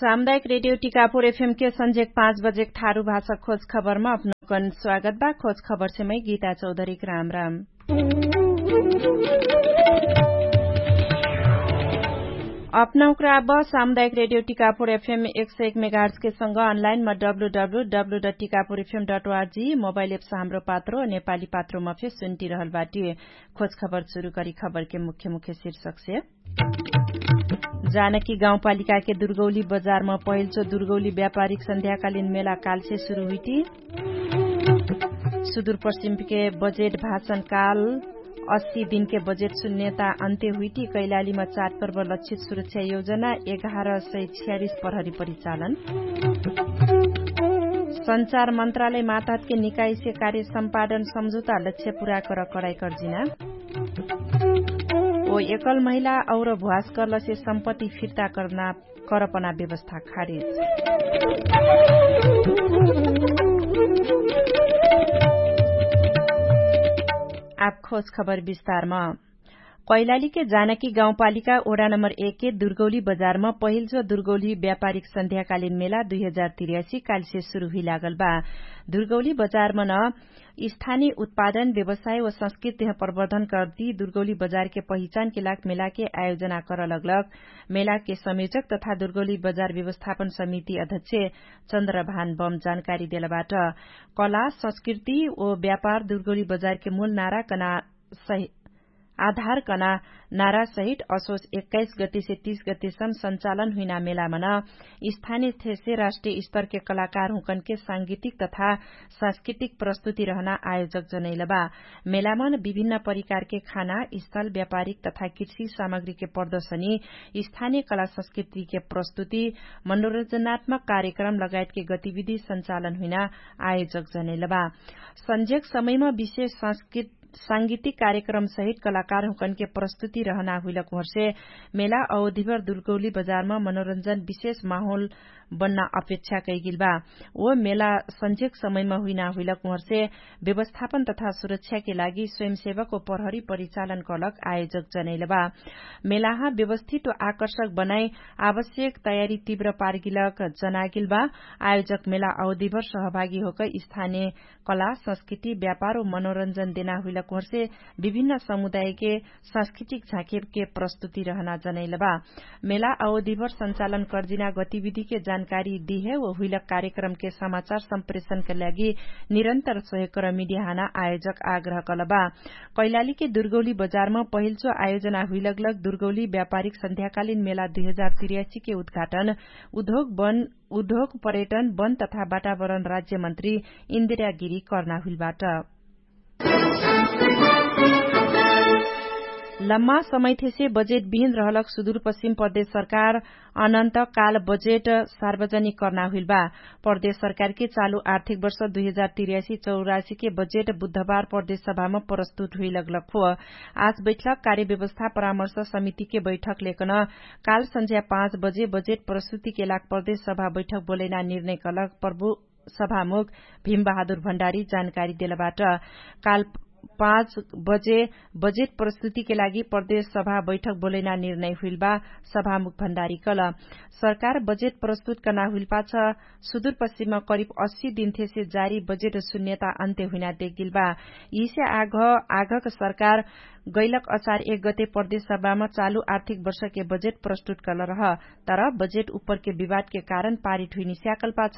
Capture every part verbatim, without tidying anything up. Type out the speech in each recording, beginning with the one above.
सामुदायिक रेडियो टिकापुर एफएम के सन्झेक पाँच बजेक थारु भाषा खोज खबरमा अपनौकन स्वागत बा। खोज खबरसे मै गीता चौधरीक राम राम। अपनौकरा अब सामुदायिक रेडियो टिकापुर एफएम एक सय एक मेगाहर्जके सँग अनलाइनमा W W W dot Tikapur FM dot ORG mobile apps Hamro Patro नेपाली पात्रोमा फे सुन्टिरहल बाटी। खोज खबर सुरु करी खबरके मुख्य मुख्य शीर्षकसे। जानकी गाउँपालिकाके दुर्गौली बजारमा पहिल्चो दुर्गौली व्यापारिक सन्ध्याकालिन मेला कालसे सुरु हुइटी। सुदुरपश्चिमके बजेट भाषणकाल अस्सी दिनके बजेट सुन्यता अन्त्य हुइटी। कैलालीमा चाटपर्व लक्षित सुरक्षा योजना एघार सय छ्यालिस प्रहरी परिचालन। सञ्चार मन्त्रालय मातहतके निकाइसे कार्य सम्पादन सम्झुता लक्ष्य पुरा कर कडाइ कर्जिना। ओ एकल महिला और भ्वासकलसे सम्पत्ति फिर्ता कर्ना करपना व्यवस्था खारेज। आब खोज खबर विस्तारमा। कैलालीके जानकी गाउँपालिका ओडा नम्बर एकके दुर्गौली बजारमा पहिल्चो दुर्गौली व्यापारिक सन्ध्याकालिन मेला दुई हजार तिर्यासी कालिसे सुरु हुइलागल बा। दुर्गौली बजारमन स्थानी उत्पादन व्यवसाय व संस्कृतिह प्रवर्धन कर्दी दुर्गौली बजारके पहिचानके लाग मेलाके आयोजना करलगलग मेलाके संयोजक तथा दुर्गौली बजार व्यवस्थापन समिति अध्यक्ष चन्द्रभान बम जानकारी देलबाट। कला संस्कृति व व्यापार दुर्गौली बजारके मूल नारा कना सहि आधार कना नारासहित असोस एक्काइस गतिसे तीस गतिसम सञ्चालन हुइना मेलामन स्थानिय थेसे राष्ट्रिय स्तरके कलाकार हुँकनके सांगीतिक तथा सांस्कृतिक प्रस्तुति रहना आयोजक जनैलबा। मेलामन विभिन्न परिकारके खाना स्थल व्यापारिक तथा कृषि सामग्रीके प्रदर्शनी स्थानिय कला संस्कृतिके प्रस्तुति मनोरञ्जनात्मक कार्यक्रम लगायतके गतिविधि सञ्चालन हुइना आयोजक जनैलबा। सन्जेक समयमा विशेष सांगीतिक कार्यक्रम सहित कलाकार हुँकनके प्रस्तुति रहना हुइलक हुँहर्षे मेला अवधिभर दुर्गौली बजारमा मनोरञ्जन विशेष माहोल बन्ना अपेक्षा कैगिल बा। ओ मेला सन्जेक समयमा हुइना हुइलक हुँहर्षे व्यवस्थापन तथा सुरक्षाके लागि स्वयंसेवक ओ प्रहरी परिचालन कलक आयोजक जनैल बा। मेलाहा व्यवस्थित ओ आकर्षक बनाई आवश्यक तयारी तीव्र पार्गिलक जनागिल बा। आयोजक मेला अवधिभर सहभागी होक स्थानिय कला संस्कृति व्यापार ओ मनोरञ्जन देना हुइलक हुँहर्षे विभिन्न समुदायके सांस्कृतिक झाँकेके प्रस्तुति रहना जनैल बा। मेला अवधिभर सञ्चालन कर्जिना गतिविधिके जानकारी दिहे ओ हुइलक कार्यक्रमके समाचार सम्प्रेषणके लागि निरन्तर सहयोग र मिडियाहाना आयोजक आग्रह कल बा। कैलालीके दुर्गौली बजारमा पहिल्चो आयोजना हुइलगलग दुर्गौली व्यापारिक सन्ध्याकालिन मेला दुई हजार तिर्यासीके उद्घाटन उद्योग पर्यटन वन तथा वातावरण राज्यमन्त्री इन्दिरा गिरी कर्ना हुइलबाट। लम्मा समयथेसे बजेट बिहिन रहलक सुदुरपश्चिम प्रदेश सरकार अनन्त काल बजेट सार्वजनिक कर्ना हुइलबा। प्रदेश सरकारके चालु आर्थिक वर्ष दुई हजार तिर्यासी चौरासीके बजेट बुधबार प्रदेश सभामा प्रस्तुत हुइलगलक हो। आज बैठक कार्यव्यवस्था परामर्श समितिके बैठक लेकन काल सन्झ्या पाँच बजे बजेट प्रस्तुतिके लाग प्रदेश सभा बैठक बोलैना निर्णय कलक प्रभु सभामुख भीमबहादुर भण्डारी जानकारी देलबाट। काल पाँच बजे बजेट प्रस्तुतिके लागि प्रदेश सभा बैठक बोलैना निर्णय हुइलबा। सभामुख भण्डारी कल सरकार बजेट प्रस्तुत कर्ना हुइलपाछ सुदुरपश्चिममा करिब अस्सी दिनथेसे जारी बजेट सुन्यता अन्त्य हुइना देगिलबा। यिसे आघ आघक सरकार गैलक अचार एक गते प्रदेश सभामा चालु आर्थिक वर्षके बजेट प्रस्तुत कलरह। तर बजेट उपरके विवादके कारण पारित हुइनी स्याकल्पाछ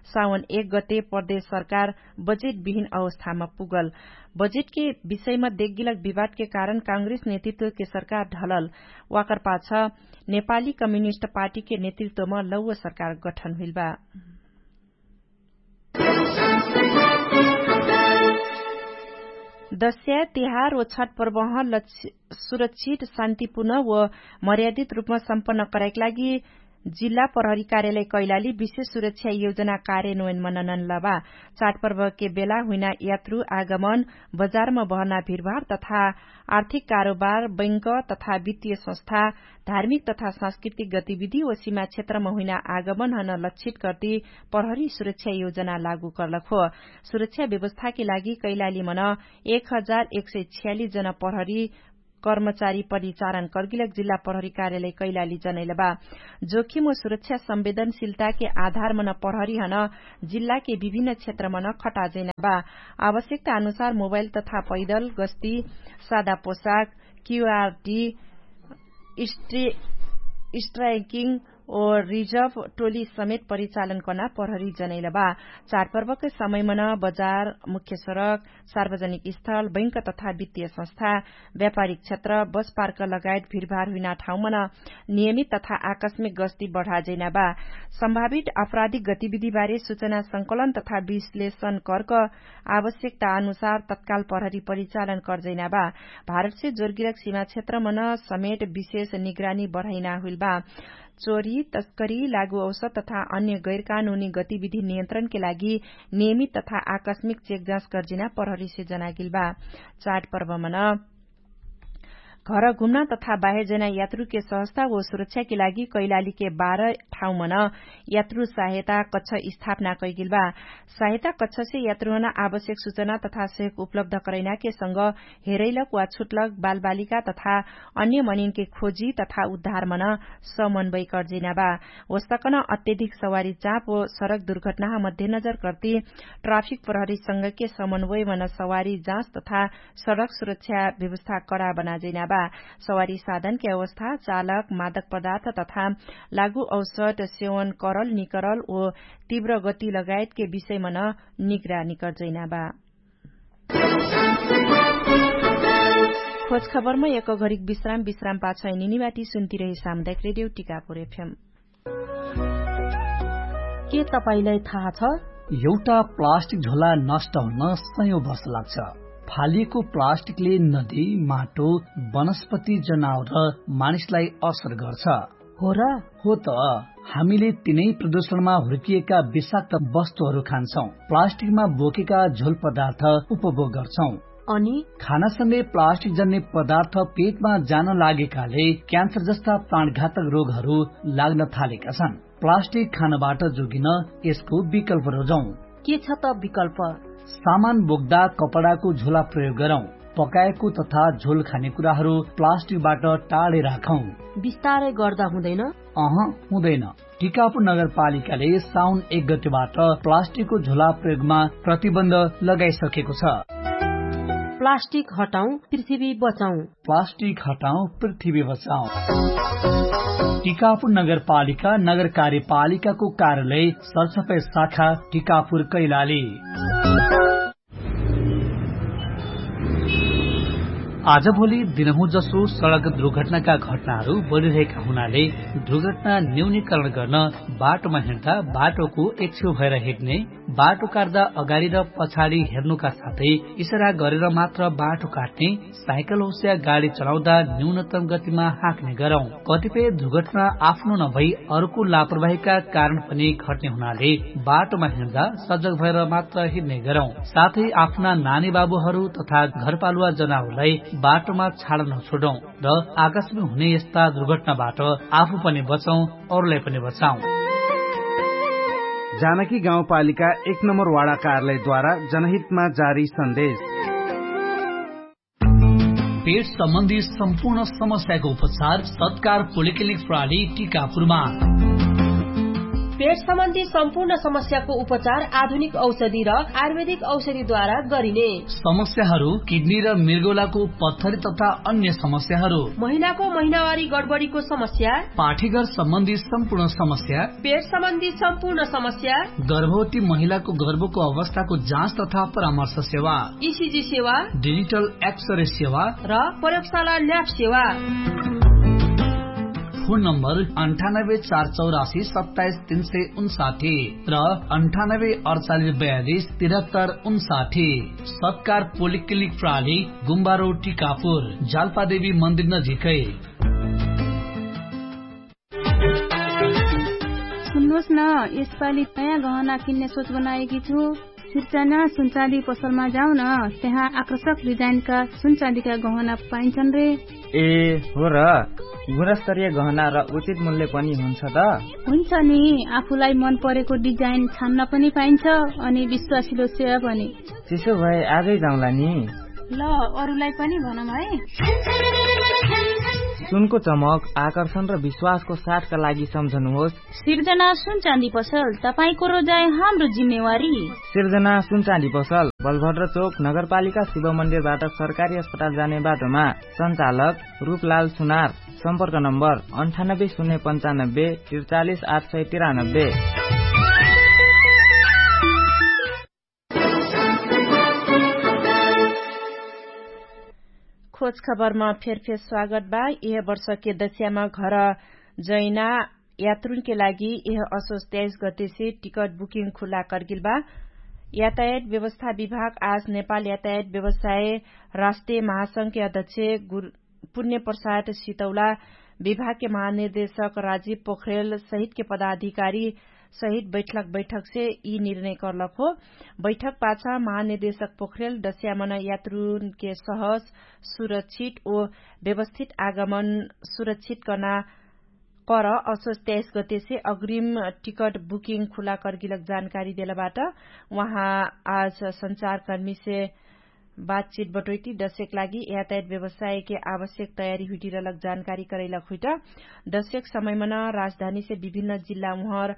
सावन एक गते प्रदेश सरकार बजेट बिहिन अवस्थामा पुगल। बजेटके विषयमा देगिलक विवादके कारण काङ्ग्रेस नेतृत्वके सरकार ढलल। वाकरपाछ नेपाली कम्युनिस्ट पार्टीके नेतृत्वमा लौव सरकार गठन हुइलबा। दस्या तिहार व छठ प्रवाह सुरक्षित शान्तिपूर्ण व मर्यादित रूपमा सम्पन्न करैक लागि जिल्ला प्रहरी कार्यालय कैलाली विशेष सुरक्षा योजना कार्यान्वयन मननन लबा। चाटपर्वके बेला हुइना यात्रु आगमन बजारमा बहना भिरभार तथा आर्थिक कारोबार बैंक तथा वित्तीय संस्था धार्मिक तथा सांस्कृतिक गतिविधि व सीमा क्षेत्रमा हुइना आगमनहन लक्षित कर्ति प्रहरी सुरक्षा योजना लागू कर्लक हो। सुरक्षा व्यवस्थाके लागि कैलालीमन एक हजार एक सय छ्यालिस जना प्रहरी कर्मचारी परिचारण कर्गिलक जिल्ला प्रहरी कार्यालय कैलाली जनैलबा। जोखिम व सुरक्षा संवेदनशीलताके आधारमन प्रहरीहन जिल्लाके विभिन्न क्षेत्रमन खटाजैनाबा। आवश्यकता अनुसार मोबाइल तथा पैदल गस्ती, सादा पोशाक, क्यूआरटी, स्ट्राइकिङ ओ रिजर्भ टोली समेत परिचालन कर्ना प्रहरी जनैलबा। चाडपर्वके समयमन बजार, मुख्य सडक, सार्वजनिक स्थल, बैंक तथा वित्तीय संस्था, व्यापारिक क्षेत्र, बस पार्क लगायत भिडभार हुइना ठाउँमन नियमित तथा आकस्मिक गस्ती बढाजैनाबा। सम्भावित आपराधिक गतिविधिबारे सुचना संकलन तथा विश्लेषण कर्क आवश्यकता अनुसार तत्काल प्रहरी परिचालन कर्जैनाबा। भारतसे जोर्गिरक सीमा क्षेत्रमन समेट विशेष निगरानी बढैना हुइलबा। चोरी, तस्करी, लागु औसत तथा अन्य गैरकानुनी गतिविधि नियन्त्रणके लागि नियमित तथा आकस्मिक चेकजाँच गर्जिना प्रहरीसे जनागिलबा। चाडपर्वमन घर घुम्ना तथा बाहेर जैना यात्रुके सहस्ता व सुरक्षाके लागि कैलालीके बाह्र ठाउँमन यात्रु सहायता कच्छ स्थापना कैगिलबा। सहायता कच्छसे यात्रुहन आवश्यक सुचना तथा सहयोग उपलब्ध करैनाके संग हेरैलक वा छुटलक बालबालिका तथा अन्य मनिनके खोजी तथा उद्धारमन समन्वय कर्जिनाबा। वस्तकन अत्यधिक सवारी चाप व सडक दुर्घटनाह मध्यनजर कर्ति ट्राफिक प्रहरी संगके समन्वयमन सवारी जाँच तथा सडक सुरक्षा व्यवस्था कडा बनाजैनाबा। सवारी साधनके अवस्था, चालक, मादक पदार्थ तथा लागु औसट सेवन करल निकरल व तीव्र गति लगायतके विषयमन निगरानी कर्जैनाबा। खोजखबरमा एक घरिक विश्राम विश्राम पाछै निनिवाटी सुन्तिरहे सामुदायक रेडियो टिकापुर एफएम। के तपाईंलाई थाहा छ? एउटा प्लास्टिक झोला नष्ट हुन सयौं वर्ष लाग्छ। फालिएको प्लास्टिकले नदी, माटो, वनस्पति, जनावर र मानिसलाई असर गर्छ। हो र? हो त। हामीले तिनै प्रदूषणमा हुर्किएका विषाक्त वस्तुहरू खान्छौं। प्लास्टिकमा बोकेका झोल पदार्थ उपभोग गर्छौं। अनि खानासँगै प्लास्टिक जन्ने पदार्थ पेटमा जान लागेकाले क्यान्सर जस्ता प्राणघातक रोगहरू लाग्न थालेका छन्। प्लास्टिक खानबाट जोगिन यसको विकल्प रोजौं। के छ त विकल्प? सामान बोक्दा कपडाको झोला प्रयोग गरौं। पकाएको तथा झोल खाने कुराहरू प्लास्टिकबाट टाढे राखौं। बिस्तारै गर्दा हुँदैन? अह, हुँदैन। टिकापुर नगरपालिकाले साउन एक गतिबाट प्लास्टिकको झोला प्रयोगमा प्रतिबन्ध लगाइसकेको छ। प्लास्टिक हटाउँ, पृथ्वी बचाउँ। प्लास्टिक हटाउँ, पृथ्वी बचाउँ। टिकापुर नगरपालिका, नगरकार्यपालिकाको कार्यालय, सरसफाइ शाखा, टिकापुर कैलाली। आजभोलि दिनहुँ जसो सडक दुर्घटनाका घटनाहरू बढिरहेका हुनाले दुर्घटना न्यूनीकरण गर्न बाटोमा हिँड्दा बाटोको एक छेउ भएर हिँड्ने, बाटो काट्दा अगाडि र पछाडि हेर्नुका साथै इसारा गरेर मात्र बाटो काट्ने, साइकल होस्या गाडी चलाउँदा न्यूनतम गतिमा हाँक्ने गरौँ। कतिपय दुर्घटना आफ्नो नभई अर्को लापरवाहीका कारण पनि घट्ने हुनाले बाटोमा हिँड्दा सजग भएर मात्र हिँड्ने गरौँ। साथै आफ्ना नानी बाबुहरू तथा घरपालुवा जनावरलाई बाटोमा छाड नछोडौँ र आकाशमा हुने यस्ता दुर्घटनाबाट आफू पनि बचौँ, अरूलाई पनि बचाउँ। जानकी गाउँपालिका एक नम्बर वाडा कार्यालयद्वारा जनहितमा जारी सन्देश। पेट सम्बन्धी सम्पूर्ण समस्याको उपचार सत्कार पोलिक्लिनिक प्रणाली टिकापुरमा। पेट सम्बन्धी सम्पूर्ण समस्याको उपचार आधुनिक औषधि र आयुर्वेदिक औषधिद्वारा गरिने। समस्याहरू किडनी र मृगौलाको पत्थरी तथा अन्य समस्याहरू, महिलाको महिनावारी गडबडीको समस्या, पाठीघर सम्बन्धी सम्पूर्ण समस्या, पेट सम्बन्धी सम्पूर्ण समस्या, गर्भवती महिलाको गर्भको अवस्थाको जाँच तथा परामर्श सेवा, इसिजी सेवा, डिजिटल एक्सरे सेवा र प्रयोगशाला ल्याब सेवा। फोन नम्बर अन्ठानब्बे चार चौरासी सत्ताइस तीन सय उन्साठी र अन्ठानब्बे अडचालिस बयालिस तिरहत्तर उन्साठी। सत्कार पोलिक्लिनिक प्रणाली, गुम्बारो टिकापुर, जाल्पादेवी मन्दिर नजिकै। सुन्नुहोस् न, यसपालि नयाँ गहना किन्ने सोच बनाएकी छु। सिर्जना सुनचाँदी पसलमा जाऊ न, त्यहाँ आकर्षक डिजाइनका सुनचाँदीका गहना पाइन्छन् रे। ए, हो र? गुणस्तरीय गहना र उचित मूल्य पनि हुन्छ त? हुन्छ नि, आफूलाई मन परेको डिजाइन छान्न पनि पाइन्छ, अनि विश्वासिलो सेवा पनि। त्यसो भए आजै जाउँला नि। ल, अरुलाई पनि भनौँ है। सुनको चमक, आकर्षण र विश्वासको साथका लागि सम्झनुहोस्। सिर्जना सुनचाँदी पसल, तपाईंको रोजाइ हाम्रो जिम्मेवारी। सिर्जना सुनचाँदी पसल, बलभद्र चोक, नगरपालिका शिव मन्दिरबाट सरकारी अस्पताल जाने बाटोमा। सञ्चालक रूपलाल सुनार। सम्पर्क नम्बर अन्ठानब्बे शून्य पन्चानब्बे त्रिचालिस आठ सय तिरानब्बे। खोज खबरमा फेरफेर स्वागत बा। यह वर्षके दस्यामा घर जैना यात्रुनके लागि यह असोज तेइस गतेसे टिकट बुकिङ खुला कर्गिल बा। यातायात व्यवस्था विभाग आज नेपाल यातायात व्यवसाय राष्ट्रिय महासंघके अध्यक्ष पुण्य प्रसाद सितौला, विभागके महानिर्देशक राजीव पोखरेल सहितके पदाधिकारी सहित बैठक बैठकसे यि निर्णय कर्लक हो। बैठक पाछ महानिर्देशक पोखरेल दस्यामन यात्रुनके सहज, सुरक्षित ओ व्यवस्थित आगमन सुरक्षित कर्ना कर असोज तेइस गतेसे अग्रिम टिकट बुकिङ खुला कर्गिलक जानकारी देलबाट। उहाँ आज सञ्चारकर्मीसे बातचित बटोइटी दशेक लागि यातायात व्यवसायके आवश्यक तयारी हुइटिरलक जानकारी करैलक हुइट। दशेक समयमन राजधानीसे विभिन्न जिल्ला उहर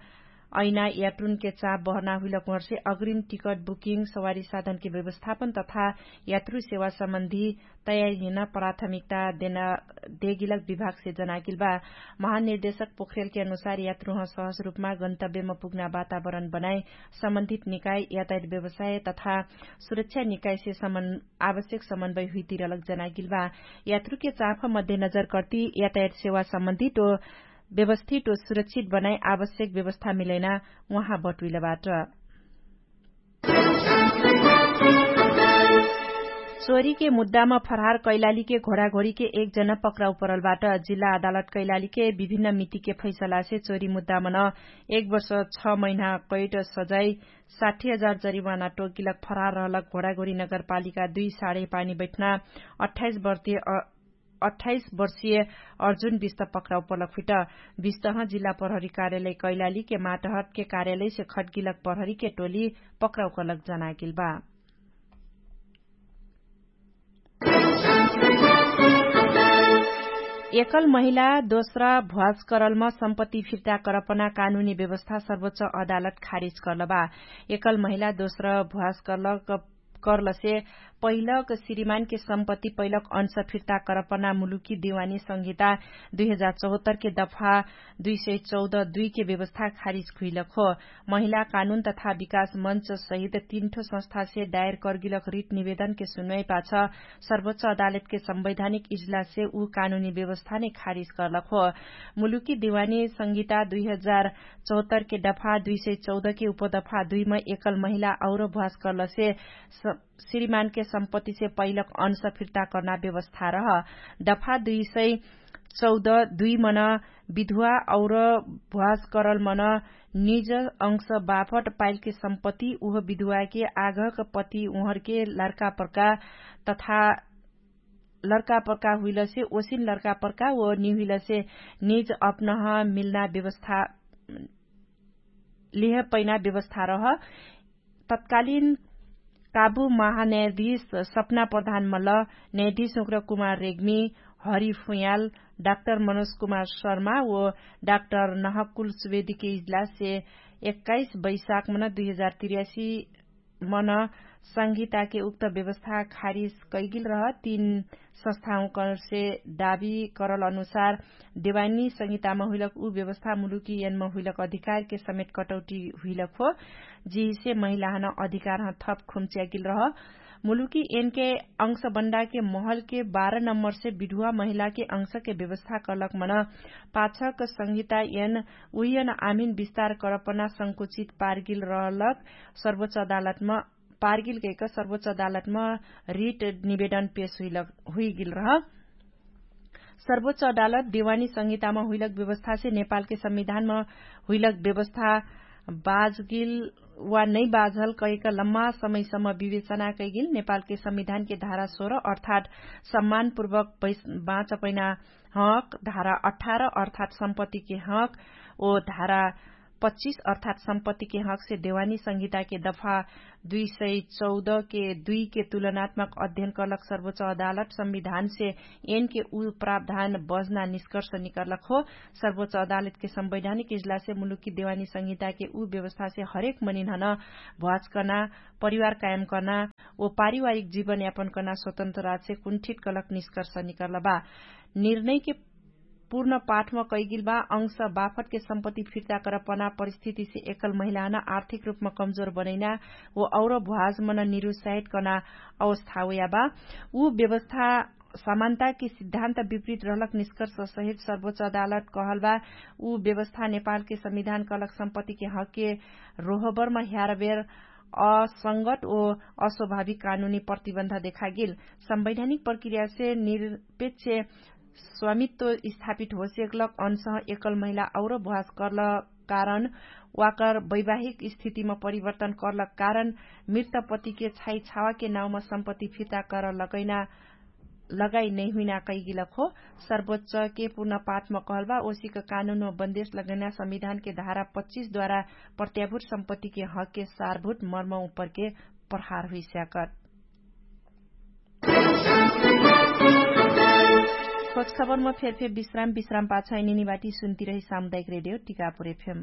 ऐना यात्रुनके चाप बहना हुइलक उहरसे अग्रिम टिकट बुकिङ सवारी साधनके व्यवस्थापन तथा यात्रु सेवा सम्बन्धी तयारी हिन प्राथमिकता देना देगिलक विभागसे जनागिल बा। महानिर्देशक पोखरेलके अनुसार यात्रुह सहज रूपमा गन्तव्यमा पुग्ना वातावरण बनाइ सम्बन्धित निकाय यातायात व्यवसाय तथा सुरक्षा निकायसे आवश्यक समन्वय हुइतिरलक जनागिल बा। यात्रुके चाँफ मध्यनजर कर्ति यातायात सेवा सम्बन्धित ओ व्यवस्थित ओ सुरक्षित बनाइ आवश्यक व्यवस्था मिलैना उहाँ बटुइलबाट। चोरीके मुद्दामा फरहार कैलालीके घोडाघोडीके एक जना पक्राउ परलबाट। जिल्ला अदालत कैलालीके विभिन्न मितिके फैसलासे चोरी मुद्दामा न एक वर्ष छ महिना कैट सजाइ साठी हजार जरिवाना टोकिलक फरहार रहलक घोडाघोडी नगरपालिका दुई साढे पानी बैठना अठाइस वर्षीय अठाइस वर्षीय अर्जुन बिस्त पक्राउ परलक हुइट। बिस्तह जिल्ला प्रहरी कार्यालय कैलालीके माटहटके कार्यालयसे खटगिलक प्रहरीके टोली पक्राउ करलक जनागिल बा। एकल महिला दोस्रा भ्वाज करलमा सम्पत्ति फिर्ता करपना कानुनी व्यवस्था सर्वोच्च अदालत खारिज करलबा। एकल महिला दोस्रा भ्वाज करलक करलसे पहिलक श्रीमानके सम्पत्ति पहिलक अंश फिर्ता करपना मुलुकी दिवानी संहिता दुई हजार चौहत्तरके दफा दुई सय चौध दुईके व्यवस्था खारिज खुइलक हो। महिला कानुन तथा विकास मञ्च सहित तीनठो संस्थासे दायर कर्गिलक रिट निवेदनके सुनवाई पाछ सर्वोच्च अदालतके संवैधानिक इजलाससे उ कानुनी व्यवस्थाने खारिज करलक हो। मुलुकी दिवानी संहिता दुई हजार चौहत्तरके दफा दुई सय चौधके उपदफा दुईमा एकल महिला और भ्वास करलसे श्रीमानके सम्पत्तिसे पहिलक अंश फिर्ता कर्ना व्यवस्था रह। दफा दुई सय चौध दुई मन विधुवा और भ्वास करल मन निज अंश बाफट पाइलके सम्पत्ति उह विधुवाके आघक पति उहरके लर्कापर्का तथा लर्कापर्का हुइलसे ओसिन लर्कापर्का ओ निहुइलसे निज अपनह मिल्ना व्यवस्था लिह पैना व्यवस्था रह। तत्कालीन काबु महान्यायाधीश सपना प्रधान मल्ल, न्यायाधीश उग्र कुमार रेग्मी, हरि फुयाल, डाक्टर मनोज कुमार शर्मा ओ डाक्टर नहकुल सुवेदीके इजलाससे एक्काइस बैशाख मन दुई हजार तिर्यासी मन संहिताके उक्त व्यवस्था खारिज कैगिल रह। तीन संस्थाहुँकरसे दाबी करल अनुसार देवानी संहितामा हुइलक उ व्यवस्था मुलुकी यनमा हुइलक अधिकारके समेत कटौटी हुइलक हो। जिहिसे महिलाहन अधिकारह थप खुम्च्यागिल रह। मुलुकी यनके अंशबन्डाके महलके बाह्र नम्बरसे विधुवा महिलाके अंशके व्यवस्था करलक मन पाछक संहिता यन उहियन आमिन विस्तार करपना संकुचित पारगिल रहलक सर्वोच्च अदालतमा पारगिल गैक सर्वोच्च अदालतमा रिट निवेदन पेश हुइगिल रह। सर्वोच्च अदालत देवानी संहितामा हुइलक व्यवस्थासे नेपालके संविधानमा हुइलक व्यवस्था बाजगिल वा नै बाजल कैक लम्मा समयसम्म विवेचना कैगिल नेपालके संविधानके धारा सोह्र अर्थात् सम्मानपूर्वक बाँचपैना हक धारा अठार अर्थात् सम्पत्तिके हक ओ धारा पच्चिस अर्थात् सम्पत्तिके हकसे देवानी संहिताके दफा दुई सय चौध के दुई के तुलनात्मक अध्ययन कलक सर्वोच्च अदालत संविधानसे एनके उ प्रावधान बजना निष्कर्ष निकर्लक हो। सर्वोच्च अदालतके संवैधानिक इजलासे मुलुकी देवानी संहिताके उ व्यवस्थासे हरेक मनिनहन भ्वाचकना, परिवार कायमकना, ओ पारिवारिक जीवनयापनकना स्वतन्त्र राज्यसे कुण्ठित कलक निष्कर्ष निकर्लबा। निर्णयके पूर्ण पाठम कैगिलबा अंश बाफटके सम्पत्ति फिर्ता करपना परिस्थितिसे एकल महिलाहन आर्थिक रूपम कमजोर बनैना, ओ और भ्वाजमन निरुसाहित कना अवस्था उयाबा। उ व्यवस्था समानताके सिद्धान्त विपरीत रहलक निष्कर्ष सहित सर्वोच्च अदालत कहलबा। उ व्यवस्था नेपालके संविधान कहलक सम्पत्तिके हकके रोहबरम ह्यारबेर असंगत ओ अस्वाभाविक कानुनी प्रतिबन्ध देखागेल। संवैधानिक प्रक्रियासे निरपेक्ष स्वामित्व स्थापित होसेकलक अनसह एकल महिला और भ्वास कर्ल कारण वाकर वैवाहिक स्थितिम परिवर्तन कर्ल कारण मृतपतिके छाइ छावाके नाउम सम्पत्ति फिर्ता कर लगैना लगाइ नैहुइना कैगिलक हो। सर्वोच्चके पूर्ण पाठम कहलबा ओसिक कानुनम बन्देश लगैना संविधानके धारा पच्चिस द्वारा प्रत्याभूत सम्पत्तिके हकके सारभूत मर्म उपरके प्रहार हुइस्याकत। खोज खबरम फेरफेर विश्राम विश्राम पाछाइ निनिबाटी सुन्तिरही सामुदायिक रेडियो टिकापुर एफएम।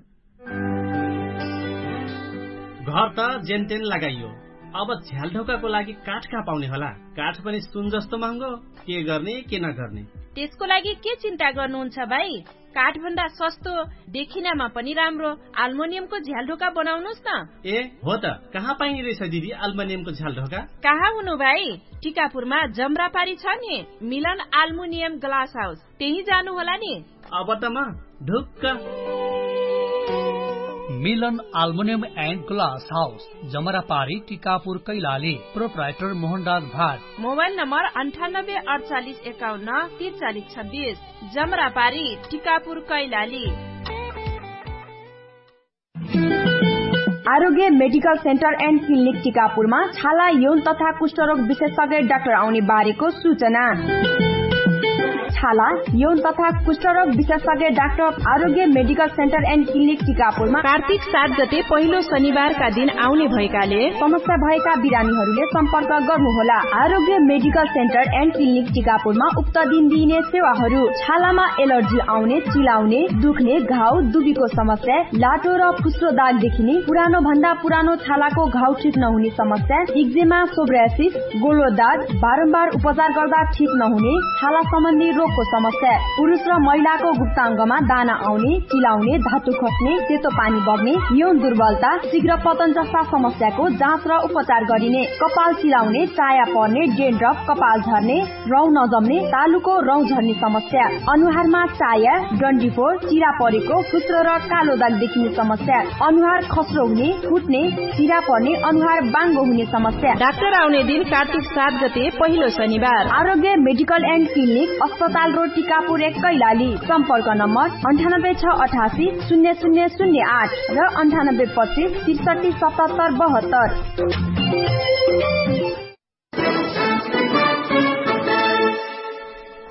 घर त जेनतेन लगाइयो, अब झ्यालढोकाको लागि काठ कहाँ पाउने होला? काठ पनि सुन जस्तो महँगो। के गर्ने के नगर्ने? त्यसको लागि के चिन्ता गर्नुहुन्छ भाइ? काठभन्दा सस्तो, देखिनामा पनि राम्रो आल्मोनियमको झ्यालढोका बनाउनुस् न। ए हो त, कहाँ पाइने रहेछ दिदी आल्मोनियमको झ्यालढोका? कहाँ हुनु भाइ? टिकापुरमा जम्रापारी छ नि, मिलन आल्मोनियम ग्लास हाउस, त्यही जानु होला नि। अब त म ढुक्क। मिलन आल्मोनियम एन्ड ग्लास हाउस, जमरापारी टिकापुर कैलाली। प्रोप्राइटर मोहनराज भाट। मोबाइल नम्बर अन्ठानब्बे अडचालिस एकाउन्न तिरचालिस छब्बिस। जमरापारी टिकापुर कैलाली। आरोग्य मेडिकल सेन्टर एन्ड क्लिनिक टिकापुरमा छाला यौन तथा कुष्ठरोग विशेषज्ञ डाक्टर आउने बारेको सूचना। छाला यौन तथा कुष्ठरोग विशेषज्ञ डाक्टर आरोग्य मेडिकल सेन्टर एन्ड क्लिनिक टिकापुरमा कार्तिक सात गते पहिलो शनिबारका दिन आउने भएकाले समस्या भएका बिरामीहरूले सम्पर्क गर्नुहोला। आरोग्य मेडिकल सेन्टर एन्ड क्लिनिक टिकापुरमा उक्त दिन दिइने सेवाहरू छालामा एलर्जी आउने, चिलाउने, दुख्ने, घाउ, दुबीको समस्या, लाटो र फुस्रो दाग देखिने, पुरानो भन्दा पुरानो छालाको घाउ ठिक नहुने समस्या, इक्जेमा, सोब्रासिस, गोलो दाग, बारम्बार उपचार गर्दा ठिक नहुने छाला सम्बन्धी रोगको समस्या, पुरुष र महिलाको गुप्ताङ्गमा दाना आउने, चिलाउने, धातु खस्ने, सेतो पानी बग्ने, यौन दुर्बलता, शीघ्र पतन जस्ता समस्याको जाँच र उपचार गरिने, कपाल चिलाउने, चाया पर्ने, डेन्ड्रफ, कपाल झर्ने, रौँ नजम्ने, तालुको रौँ झर्ने समस्या, अनुहारमा चाया, डन्डीफोर, चिरा परेको, फुस्रो र कालो दाग देखिने समस्या, अनुहार खस्रो हुने, फुट्ने, चिरा पर्ने, अनुहार बाङ्गो हुने समस्या। डाक्टर आउने दिन कार्तिक सात गते पहिलो शनिबार। आरोग्य मेडिकल एन्ड क्लिनिक, अस्पताल रोड, टिकापुर एक, कैलाली। सम्पर्क नम्बर अन्ठानब्बे छ अठासी शून्य शून्य शून्य आठ र अन्ठानब्बे पच्चिस त्रिसठी सतहत्तर बहत्तर।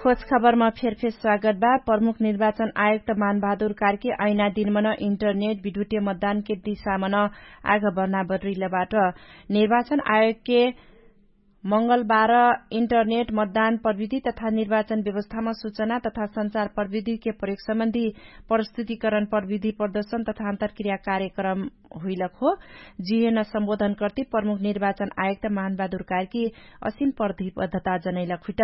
खोज खबरमा फेरफेर स्वागत बा। प्रमुख निर्वाचन आयुक्त मानबहादुर कार्की ऐना दिनमन इन्टरनेट विद्युतीय मतदानके दिशामन आग बढ्ना बढ्रिलबाट। निर्वाचन आयोगके मंगलबार इन्टरनेट मतदान प्रविधि तथा निर्वाचन व्यवस्थामा सूचना तथा संचार प्रविधिके प्रयोगसम्बन्धी प्रस्तुतिकरण प्रविधि प्रदर्शन तथा अन्तरक्रिया कार्यक्रम हुइलक हो। जिहेन सम्बोधन कर्ति प्रमुख निर्वाचन आयुक्त मानबहादुर कार्की असिन प्रतिबद्धता जनैलक हुइट।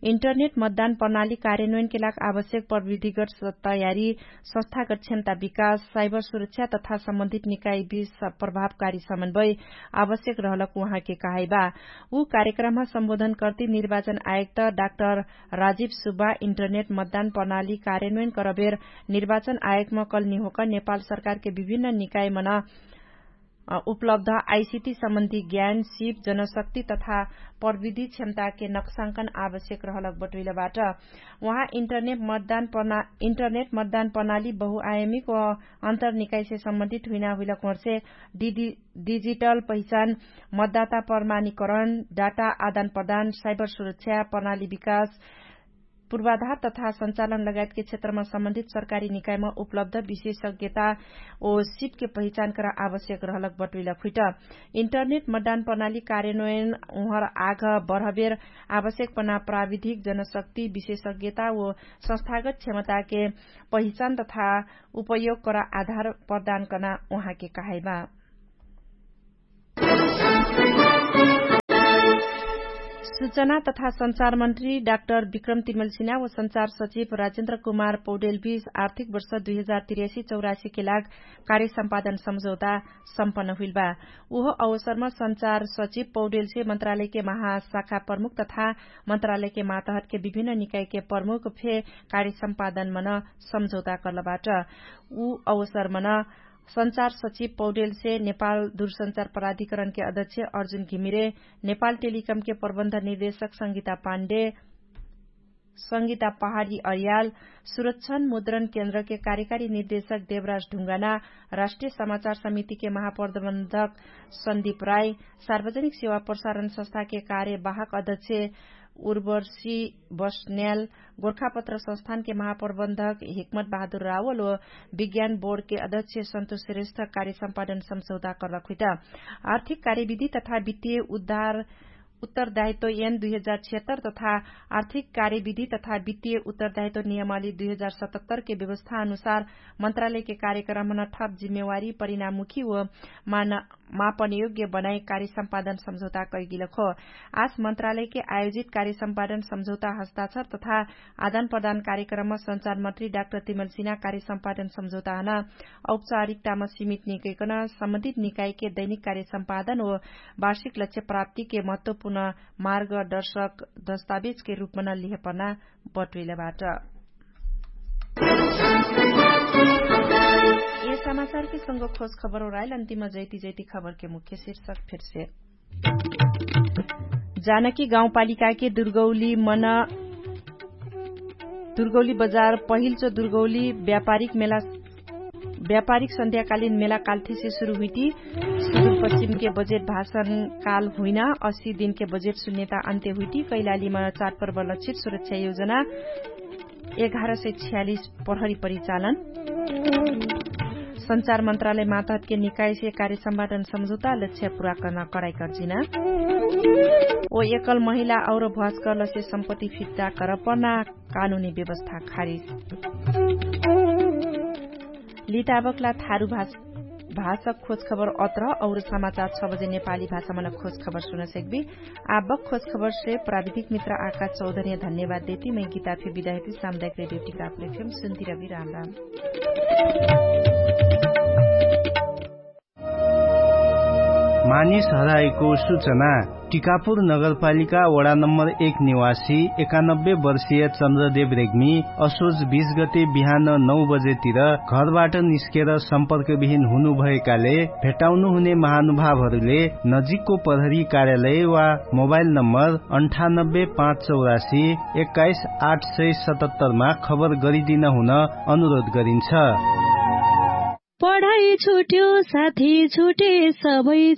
इन्टरनेट मतदान प्रणाली कार्यान्वयनके लाग आवश्यक प्रविधिगत तयारी, संस्थागत क्षमता विकास, साइबर सुरक्षा तथा सम्बन्धित निकाय बीच प्रभावकारी समन्वय आवश्यक रहलक उहाँके कहाइबा। उ कार्यक्रममा सम्बोधन कर्ति निर्वाचन आयुक्त डाक्टर राजीव सुब्बा इन्टरनेट मतदान प्रणाली कार्यान्वयन करबेर निर्वाचन आयोगमा कलनी होकर नेपाल सरकारके विभिन्न निकायमन उपलब्ध आइसिटी सम्बन्धी ज्ञान, सिप, जनशक्ति तथा प्रविधि क्षमताके नक्साङ्कन आवश्यक रहलक बटुइलबाट। उहाँ इन्टरनेट मतदान प्रणाली बहुआयमिक व अन्तरनिकायसे सम्बन्धित हुइना हुइलक होर्से डिजिटल पहिचान, मतदाता प्रमाणीकरण, डाटा आदान प्रदान, साइबर सुरक्षा प्रणाली विकास, पूर्वाधार तथा सञ्चालन लगायतके क्षेत्रमा सम्बन्धित सरकारी निकायमा उपलब्ध विशेषज्ञता ओ सिपके पहिचान करा आवश्यक रहलक बटुइलक हुइट। इन्टरनेट मतदान प्रणाली कार्यन्वयन उहर आघ बढबेर आवश्यकपना प्राविधिक जनशक्ति विशेषज्ञता ओ संस्थागत क्षमताके पहिचान तथा उपयोग करा आधार प्रदान कना उहाँके कहाइबा। सूचना तथा सञ्चार मन्त्री डाक्टर विक्रम तिमलसिना व सञ्चार सचिव राजेन्द्र कुमार पौडेलबीच आर्थिक वर्ष दुई हजार तिर्यासी चौरासीके लाग कार्य सम्पादन सम्झौता सम्पन्न हुइलबा। उहो अवसरमा सञ्चार सचिव पौडेलसे मन्त्रालयके महाशाखा प्रमुख तथा मन्त्रालयके मातहतके विभिन्न निकायके प्रमुख फे कार्य सम्पादन मन सम्झौता कर्लबाट। उ अवसर मन सञ्चार सचिव पौडेलसे नेपाल दूरसञ्चार प्राधिकरणके अध्यक्ष अर्जुन घिमिरे, नेपाल टेलिकमके प्रबन्ध निर्देशक संगीता पाण्डे, संगीता पहाडी अरियाल, सुरक्षण मुद्रण केन्द्रके कार्यकारी निर्देशक देवराज ढुङ्गाना, राष्ट्रिय समाचार समितिके महाप्रबन्धक सन्दीप राई, सार्वजनिक सेवा प्रसारण संस्थाके कार्यवाहक अध्यक्ष उर्वर्षी बस्न्याल, गोर्खापत्र संस्थानके महाप्रबन्धक हिक्मत बहादुर रावल ओ विज्ञान बोर्डके अध्यक्ष सन्तोष श्रेष्ठ कार्य सम्पादन सम्झौता कर्लक हुइट। आर्थिक कार्यविधि तथा वित्तीय उद्धार उत्तरदायित्व एन दुई हजार छिहत्तर तथा आर्थिक कार्यविधि तथा वित्तीय उत्तरदायित्व नियमावली दुई हजार सतहत्तरके व्यवस्था अनुसार मन्त्रालयके कार्यक्रमन ठप जिम्मेवारी परिणामुखी ओ मापनयोग्य बनाइ कार्य सम्पादन सम्झौता कैगिलक हो। आस मन्त्रालयके आयोजित कार्य सम्पादन सम्झौता हस्ताक्षर तथा आदान प्रदान कार्यक्रममा सञ्चार मन्त्री डाक्टर तिमलसिना कार्य सम्पादन सम्झौताहन औपचारिकतामा सीमित निकैकन सम्बन्धित निकायके दैनिक कार्य सम्पादन ओ वार्षिक लक्ष्य प्राप्तिके महत्वपूर्ण मार्गदर्शक दस्तावेजके रूपमा न लिहेपना बटुइलबाट। ए समाचारके संग खोज खबर ओराइल अन्तिम जैती जैती खबरके मुख्य शीर्षक फिर्से। जानकी गाउँपालिकाके दुर्गौली मन दुर्गौली बजार पहिल्चो दुर्गौली व्यापारिक मेला व्यापारिक सन्ध्याकालिन मेला काल्ठीसे सुरु हुइटी। सुदुर पश्चिमके बजेट भाषण काल हुइना अस्सी दिनके बजेट सुन्यता अन्त्य हुइटी कैलालीमा चाटपर्व लक्षित सुरक्षा योजना एघार सय छ्यालिस प्रहरी परिचालन। सञ्चार मन्त्रालय मातहतके निकायसे कार्य सम्भाटन सम्झौता लक्ष्य पुरा कर्ना कराइ कर्जिना। ओ एकल महिला और भ्वासकलसे सम्पत्ति फिर्ता कर पर्ना कानुनी व्यवस्था खारिज। लिताबकला थारु भाषक खोज खबर अत्र और समाचार छ बजे नेपाली भाषामा न खोज खबर सुन सेक्बी। आबक खोज खबरसे प्राविधिक मित्र आकाश चौधरी धन्यवाद देती मै गीता फे विदायती सामुदायिक रेडियो टिकापुर एफएम सुन्ती रवि राम राम। मानिस हराएको सुचना। टिकापुर नगरपालिका वडा नम्बर एक निवासी एकानब्बे वर्षीय चन्द्रदेव रेग्मी असोज बीस गते बिहान नौ बजेतिर घरबाट निस्केर सम्पर्कविहीन हुनुभएकाले भेटाउनु हुने महानुभावहरूले नजिकको प्रहरी कार्यालय वा मोबाइल नम्बर अन्ठानब्बे पाँच चौरासी एक्काइस आठ सय सतहत्तरमा खबर गरिदिन हुन अनुरोध गरिन्छ। पढाइ छुट्यो साथी छुटे सबै